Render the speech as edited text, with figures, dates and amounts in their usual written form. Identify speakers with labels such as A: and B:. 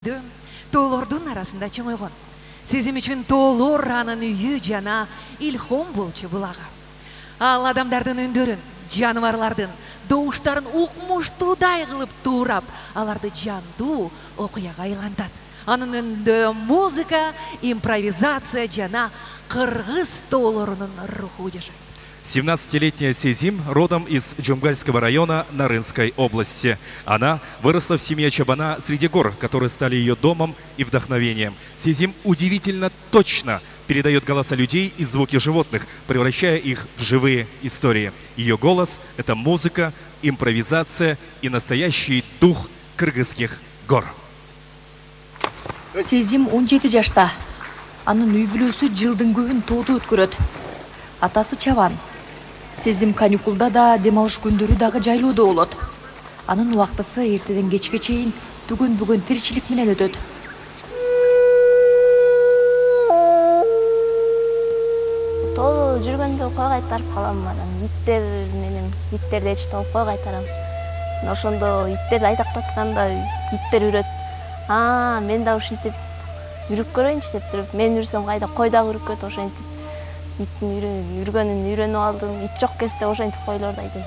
A: Тоолордун арасында чоңойгон. Сезим үчүн тоолор анын үйү жана илхом болчу булага. Ал адамдардын үндөрүн, жаныбарлардын добуштарын укмуштуудай кылып туурап, аларды жандуу окуяга айлантат. Анын өндө музыка, импровизация жана кыргыз тоолорунун руху жашайт.
B: 17-летняя Сезим родом из Джумгальского района Нарынской области. Она выросла в семье Чабана среди гор, которые стали ее домом и вдохновением. Сезим удивительно точно передает голоса людей и звуки животных, превращая их в живые истории. Ее голос – это музыка, импровизация и настоящий дух кыргызских гор.
C: Сезим 17 жашта. Анын үй бүлөсү жылдын көбүн тоодо өткөрөт. Атасы Чабан. Сезим каникулда да, дем алыш күндөрү дагы жайлоодо болот. Анын убактысы эртеден кечке чейин түгөн-бүгөн тиричилик менен өтөт.
D: Тоодо жүргөндө кой кайтарып калам анан иттер менен иттерди эчип алып кой кайтарам. Ошондо иттерди айтактатканда иттер үрөт. Мен да ушинтип үрүп көрөйүнчү деп туруп, мен үрсөм кайда кой дагы үрүкөт, ошентип иттин үргөнүн үйрөнүп алдым. Ит жок кезде ошентип койлордой дейм.